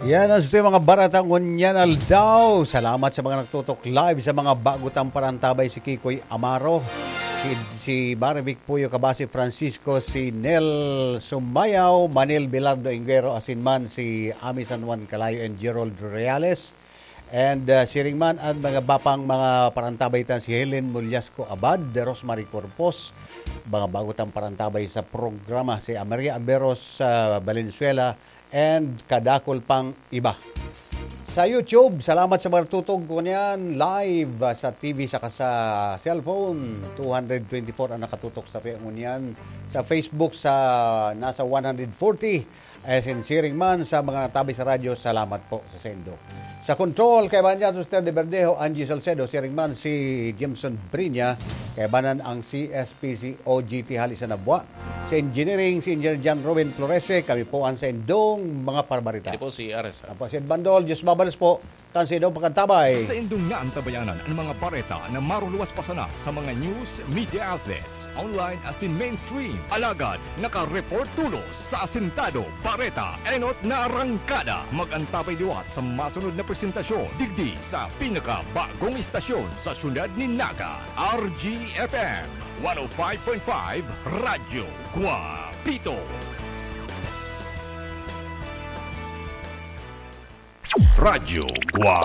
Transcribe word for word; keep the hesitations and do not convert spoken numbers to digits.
Yan ang suti mga barata ngunyan aldaw. Salamat sa mga nagtutok live sa mga bago tang parantabay, si Kikoy Amaro, si, si Marivic Puyo Kabasi Francisco, si Nel Sumayaw, Manil Bilardo Inguero, asin man si Ami San Juan Calayo and Gerald Reales. And uh, siring man ang mga bapang mga parantabay tan si Helen Mulyasco Abad, Rosemary Corpos, mga bago tang parantabay sa programa, si Maria Aberos uh, Valenzuela, and kadakol pang iba. Sa YouTube, salamat sa mga tutog ko niyan live ah, sa T V saka sa cellphone. Two hundred twenty-four ang nakatutok sa Fe- ngunyan. Sa Facebook, sa nasa one hundred forty. Eh, sinsiring man sa mga natabi sa radyo, salamat po sa sendo. Sa control, kay Banya Tuster de Verdejo, Angie Salcedo, siring man si Jimson Brinya, kay banan ang C S P C O G T hali sa Nabua. Sa engineering, si Engineer John Robin Florese, kami po ang sa indong mga parbarita. Ito po si Ares. Apo si Ed Bandol, Diyos mabalos po, kan sa indong pagkantabay. Sa indong naantabayanan ang mga bareta na maruluwas pa sana sa mga news media outlets, online asin mainstream. Alagad, naka-report tulos sa Asintado, Bareta, Enot na Arangkada. Mag-antabay liwat sa masunod na presentasyon digdi sa pinakabagong istasyon sa syudad ni Naga, R G F M one oh five point five Radyo Guapito. Radyo Guapito.